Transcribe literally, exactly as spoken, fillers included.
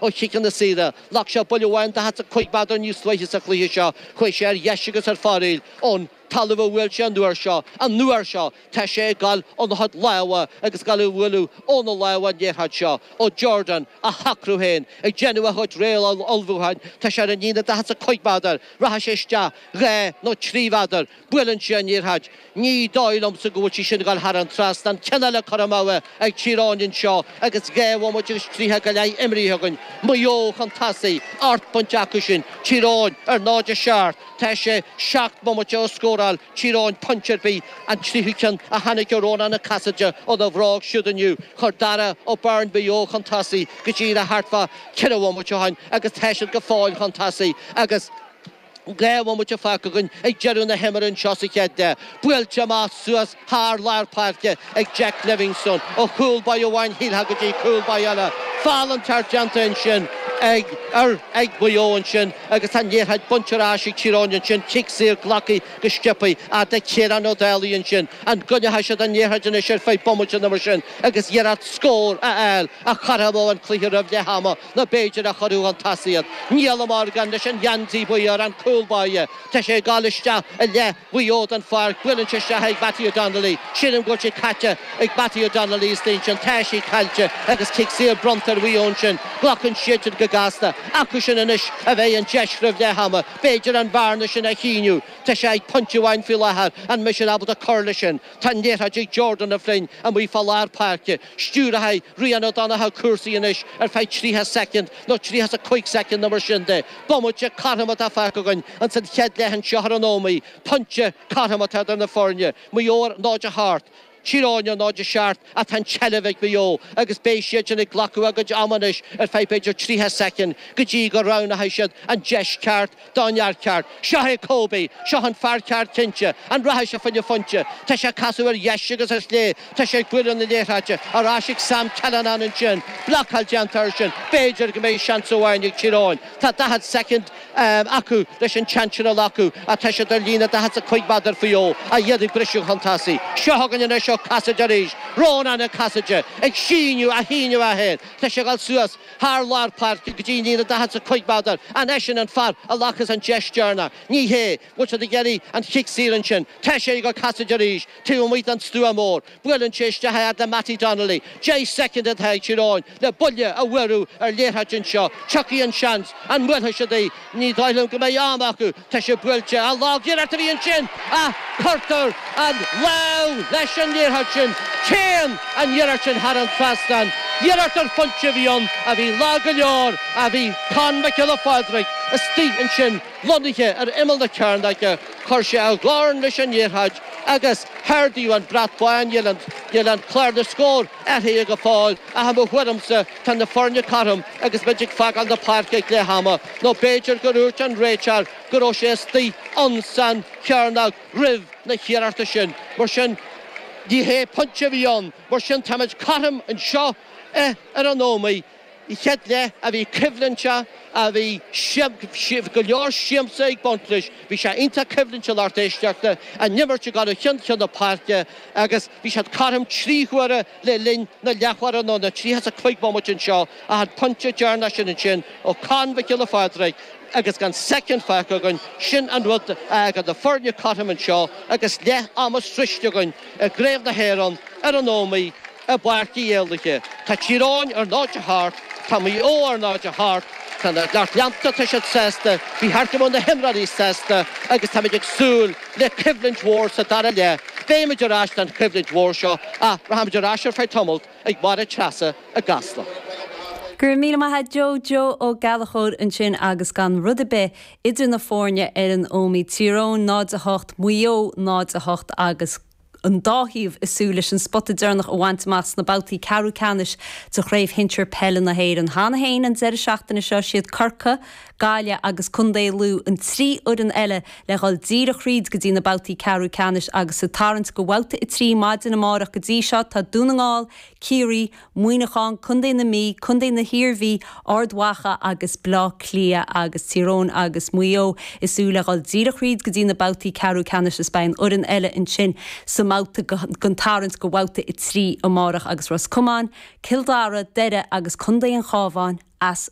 ó chiceanna saora. Ghlac sé buille amháin daichead is a cúig méadar níos luaithe sa chluiche seo. Chuaigh sé ar dheis agus ar fóraoil ón talamh a bhuail sé an uair seo. An uair seo, tá sé ag dul óna chuid lámha agus ag dul a bhualadh óna lámha an liathróid seo ó Jordan á shocrú féin, ag déanamh a chuid réamh-ullmhúcháin. Tá sé ar an líne daichead is a cúig méadar. Rachaidh sé isteach dhá nó trí mhéadar. Buaileann sé an liathróid. Ní dóigh liomsa go bhfuil sí sin ag dul thar an trasnán. Ceann eile curtha amú ag Tír Eoghain anseo agus dhá bhomaite agus tríocha go leith imrithe againn. Maigh Eo chun tosaigh, ocht bpointe acu sin. Tír Eoghain ar náid a seacht. Tá sé seacht mbomaite ó scóráil Tír Eoghain pointe ar bith, an tríú ceann a tháinig ó Rónán Cassidy óna bhróg siúd inniu. Chuir Dara O'Byrne Maigh Eo chun tosaigh go díreach thart fá ceithre bhomaite ó shin agus tá siad go fóill chun tosaigh agus dhá bhomaite fágtha againn ag deireadh na himeartha anseo sa chéad leath. Buailte amach suas thar lár páirce ag Jack Livingstone ó chúl báire amháin shílfeá go dtí cúl báire eile. Feall an ceart déanta ansin ag ar ag Maigh Eo ansin agus tá an liathróid bainte ar ais ag Tír Eoghain ansin, cic saor glactha go sciobtha ag Ciarán Ó Dálaigh ansin. An gcoinneoidh siad an liathróid anois ar feadh bomaite nó mar sin agus iarracht scór a fháil a chothromódh an cluiche roimh leath ama nó b'fhéidir a chuirfeadh chun tosaigh iad. Niall Morgan leis an gheansaí buí ar an cúl báire. Tá sé ag dul isteach i leith Mhaigh Eo den pháirc. Buaileann sé isteach ag Mattie Donnelly. Sílim go bhfuil sé caite ag Mattie Donnelly istigh ansin. Tá sí caillte agus cic saor bronnta ar Mhaigh Eo ansin. Glacann siad go gasta. Acu sin anois a bheidh an deis roimh leath ama. B'fhéidir an bhearna sin a shíneadh. Tá sé ag pointe amháin faoi láthair. An mbeidh siad ábalta cur leis sin? Tá an liathróid ag Jordan O'Flynn amuigh fá lár páirce. Stiúrfaidh Rian O'Donoghue cúrsaí anois ar feadh tríocha soicind nó tríocha is a cúig soicind nó mar sin de. Bomaite cothrom atá fágtha againn ins an chéad leath anseo ar an Ómaigh. Pointe cothrom atá idir na foirne. Maigh Eo ar náid a hocht. Tír Eoghain ar náid a seacht ach tá an tseilbh ag Maigh Eo agus beidh siad sin ag glacadh a gcuid ama anois ar feadh b'fhéidir tríocha soicind go dtí go roghnóidh siad an deis ceart don fhear ceart. Seo é Kobe, seo an fear ceart cinnte, an rachaidh sé fá choinne pointe. Tá sé ag casadh ar dheis agus ar chlé, tá sé ag bualadh na liathróide ar ais ag Sam Callanan ansin, blocáil déanta air sin, b'fhéidir go mbeidh seans amháin ag Tír Eoghain. Tá daichead soicind acu leis an tseans sin a ghlacadh ach tá siad ar líne daichead is a cúig méadar faoi dhó ach iad ag briseadh chun tosaigh. Seo chugainn anois ó Cassidy arís, Rónán Cassidy ag síneadh a shíneadh é féin. Tá sé ag dul suas thar lár páirce go dtí líne daichead is a cúig méadar. An eisean an fear a ghlacfas an deis deireanach? Ní hé. Bhfuil siad ag iarraidh an chic saor ansin? Tá sé ag Cassidy arís taobh amuigh den stua mór. Buaileann sé isteach a fhad le Mattie Donnelly. Deich soicind atá ag Tír Eoghain le buille a bhualadh ar liathróid anseo. Tiocfaidh an seans. An mbuailfidh siad í? Ní dóigh liom go mbeidh am acu. Tá sé buailte. An lag-iarracht a bhí ansin ach cuirtear an lámh leis an liathróid sin. Téann an iarracht sin thar an trasnán. Iarracht ar phointe a bhí ann a bhí lag go leor a bhí Con Mac Giolla Phádraig istigh ansin lonnaithe ar imeall na cearnóige. Chuir sé a dhorn leis an liathróid agus ardaíodh an brat bán. Níl an níl an clár na scór athraithe go fóill ach i mo thuairimse tá na foirne cothrom agus muid ag fágáil na páirce ag leath ama nó b'fhéidir gur dhúirt an réiteoir go raibh sé istigh ansan chearnóg roimh na hiarrachta sin. Mar sin ní hé pointe a bhí ann, mar sin táimid cothrom anseo ar an Ómaigh. An chéad leath a bhí coimhlinte, a bhí go leor siamsa ag baint leis. Bhí sé iontach coimhlinte lucht éisteachta, an imirt ag dul ó cheann ceann na páirce agus bhí siad cothrom trí huaire le linn na leathuaire nó na tríocha is a cúig bomaite anseo ach an pointe deireanach sin ansin ó Con Mhic Giolla Phádraig agus gan soicind fágtha againn, sin an rud a fhágann na foirne cothrom anseo agus leath ama sroichte againn i gCraobh na hÉireann ar an Ómaigh i bPáirc Uí Éallaithe. Tá Tír Eoghain ar náid a hocht, tá Maigh Eo ar náid a hocht, tá na lucht leanta, tá siad sásta, bhí thart go mbeadh na himreoirí sásta agus táimid ag súil le coimhlint mhór sa dara leath. Beimid ar ais don choimhlint mhór seo ach rachaimid ar ais ar feadh tamalt ag Máire Treasa i gCasla. Go raibh míle maith agat Joe Joe Ó Gallchóir ansin agus gan rud ar bith idir na foirne ar an Ómaigh Tír Eoghain náid a hocht, Maigh Eo náid a hocht agus an dá thaobh ag súil leis an spota deireanach a bhaint amach sna babhtaí ceathrú ceannais de chraobh shinsir peile na hÉireann. Cheana féin an deireadh seachtaine seo siad Corcaigh, Gaillimh agus Contae Lú an trí fhoireann eile le dhul díreach thríd go dtí na babhtaí ceathrú ceannais agus sa tarraingt go babhta a trí maidin amárach go dtí seo tá Dún na nGall, Ciarraí, Muineachán, Contae na Mí, Contae na hIarmhí, Ard Mhacha agus Bleá Cliath agus Tír Eoghain agus Maigh Eo ag súil le dhul díreach thríd go dtí na babhtaí ceathrú ceannais is beidh an fhoireann eile ansin sa mbabhta den tarraingt go babhta a trí amárach agus Ros Comáin, Cill Dara, Doire agus Contae an Chabháin as an